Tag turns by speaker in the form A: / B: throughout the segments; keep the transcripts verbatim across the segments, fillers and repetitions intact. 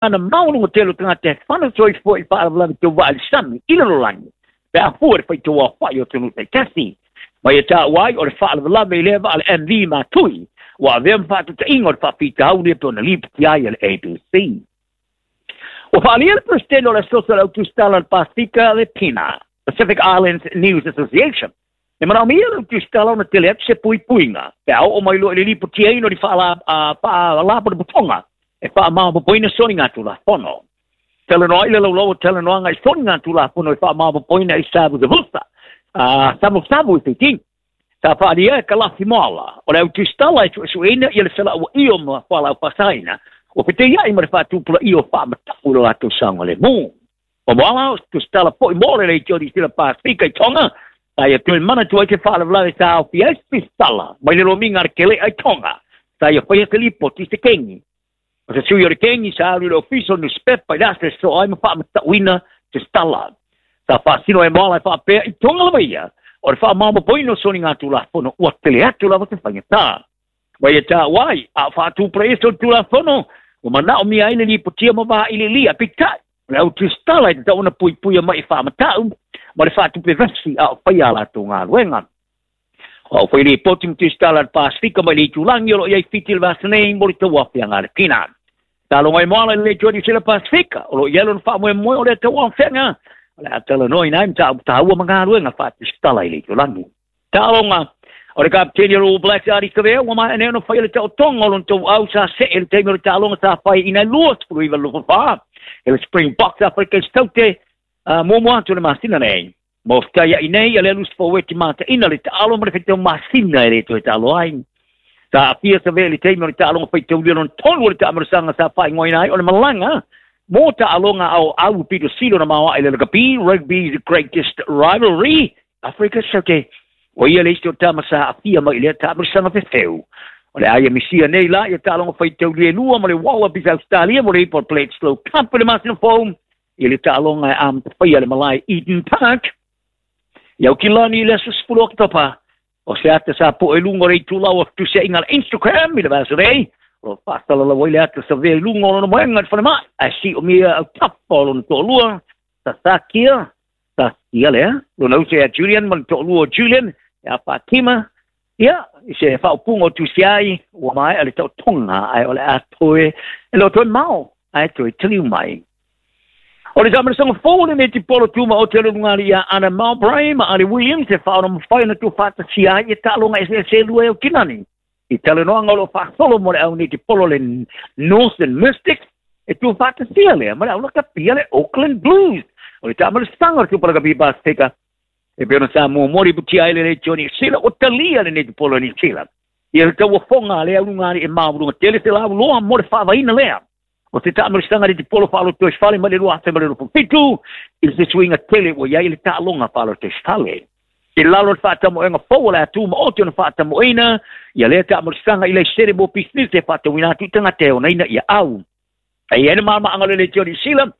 A: Ana maunu tele o tagata e fana soifua i faalavelave tauvaa i le sami i le lalolagi pe a fua i le faitauaofa'i o atunuu taitasi. Ma ia taua ai o le faalavelave i lea vaa le M V Matui ua avea ma faatuta'iga o le faafitauli e pe ona lipoti ai a le A B C. Ua faalia le Peresetene o le Asoso o le Autusitala o le Pasifika le PINA, Pacific Islands News Association, e manaomia le autusitala ona tele atu se puipuiga pe a oo mai loa i le lipotiaina o ni faalapotopotoga e faamaopoopoina soligatulafono. Talanoa ai le laulau o talanoaga i soligatulafono e faamaopoopoina i savusavusa savusavu i Fiti. Sa faalia e kalafi moala o le autusitala e suesueina ia le felauaia ma fualaau faasaina ua feteiai ma le faatupulaia o faamatau i lo latou saogalemu. O moala o tusitala fo'i mo le leitio Sila Pasifika i Tonga sa ia toe manatua ai se faalavelave sa aofia ai se pisitala mai le lomiga a le kele'a i Tonga sa ia faia se lipoti i se kegi. O se sui o le kegi sa alu i le ofisa o le newspepa i le aso e soa ai ma faamatauina se stala. Sa faasino e moala e faapea i Tonga lava ia o le faamaopoopoina o soligatulafono ua tele atu lava se faigatā. Ma ia taua ai a o faatupulaia solitulafono ua manaomia ai le lipotia ma vaililia peitai o le autusitala e tatau ona puipuia mai i faamatau ma le faatupe vesi a o faia a latou galuega. O au fai lipoti ma tusitala a le Pasifika mai le itulagi o loo iai Fiti le vasa nei mo le tauaofiaga a le PINA. Taloga i moala i le leitio Niu Sila Pasifika o loo iai lona faamoemoe o lea tauaofiaga o le a talanoaina ai mataupu taua ma galuega faatusitala i le itulagi. Taaloga o le kapiteni o le All Blacks Ardie Savea ua maea nei ona faia le taotoga o lona tauau sa see le taimi o le taaloga sa fai ina e lua sefulu iva luafa fa e le Springboks Afrika i Saute muamua atu le masina nei. Ma ofetaia'i nei a le alusi faueti mataʻina le taalo ma le faitau masina e lē toe taalo ai. Sa aafia Savea i le taimi o le taaloga faitaulia lona tolu o le taamalosaga sa faaigoaina ai o le malaga mo taaloga aoau pito sili ona maoaʻe le lakapi Rugby's Greatest Rivalry Afrika Saute. O ia le isi o tama sa aafia mai i lea taamalosaga fefeu. O le aia misia nei la ia taaloga faitaulia e lua ma le Wallabies Australia mo le ipo Bledisloe Cup i le masina fou i le taaloga e amatafaia le malae Eden Park i Aukilani i le aso sefulu o Oketopa. O se ata sa po'e i luga o le itulau o fetusia'iga a le Instagram i le vasa nei o lo faasalalau ai le ata Savea i luga o lona moega i le falemai ae si'omia autafa o lona to'alua Sasakia Saskia lea lona uso ia Julian ma le to'alua o Julian ia Fatima ia i se faaupuga o tusi ai ua maea le taotoga ae o le a toe e le o toe mao ae toe taliu mai. O le taamalosaga fou o le netipolo tumaote o le ulugalii ia Ana Mowbray ma Ali Williams e faaona mafai ona tuufaatasia ai ia taaloga eseese lua e Aukilani. I talanoaga o loo faasolo mo le au netipolo le Northern Mystics e tuufaatasia lea ma le au lakapia le Auckland Blues. O le taamalosaga o le Tupalakapi Pasifika e pei ona sa muamua lipotia ai le leitio Niu Sila o talia le netipolo Niu Sila. Ia le tauafoga a lea ulugalii e mauluga tele se lauloa mo le faavaina lea. O se taamalosaga le tipolo faalotoifale mai le lua afe ma le luafufitu i le sesuiga tele ua iai le taaloga faalotoifale. I lalo le faatamoega fou o le atu maote ona faatamoeina ia lea taamalosaga i laisene mo pisinisi e faatauina atu i tagata e onaina ia au. E iai le malamaaga o le leitio Niu Sila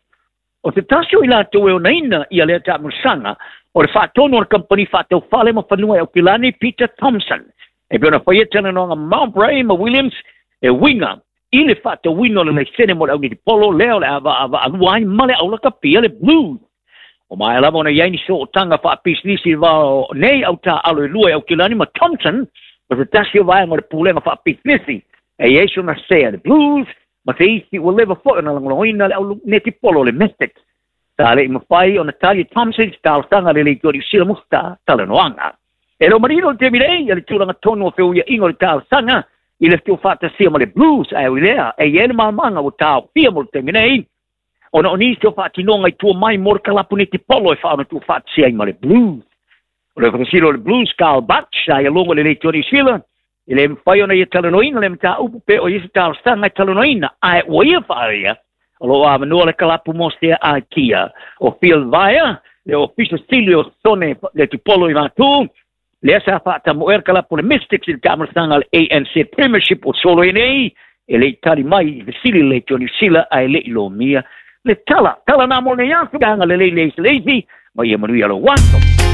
A: o se tasi o i latou e onaina ia lea taamalosaga o le faatonu o le kampani faataufale ma fanua e Aukilani Peter Thompson. E pei ona faia talanoaga Mowbray ma Williams e uiga i le faatauina o le laisene mo le aunetipolo lea o le avaavaalua ai ma le aulakapia le Blues. O maea lava ona iai ni sootaga faapisinisi vao nei autaalo e lua e Aukilani ma Thompson ma se tasi o vaega o le pulega faapisinisi e iai sona sea le Blues ma se isi ua leva fo'i ona lagolagoina le aunetipolo le Mystics. Sa le'i mafai ona tali e Thompson se talosaga le leitio Niu Sila mo se talanoaga. E le o manino le taimi nei a le tulaga tonu o feuia'iga o le talosaga i le tuufaatasia ma le Blues ae oi lea e iai le malamaga ua taofia mo le taimi nei ona o nisi o faatinoga i tua mai mo le kalapu netipolo e faaona tuufaatasia ai ma le Blues. O le fatasilo o le Blues Carl Butch sa ia logo le leitio Niu Sila e le mafai ona ia talanoaina le mataupu pe o ia se talosaga e talanoaina ae ua ia faaia o loo avanoa le kalapu mo sea aikia. O Phil Vaea le ofisa sili o sone le tipolo i matu lea sa faatamoea le kalapu le Mystics i le taamalosaga le A N C Premiership o solo ai nei e le'i tali mai i fesili le leitio Niu Sila ae le'i lomia le tala. Tala na mo nei aso aga lelei le isileisi ma ia manuia lou aso.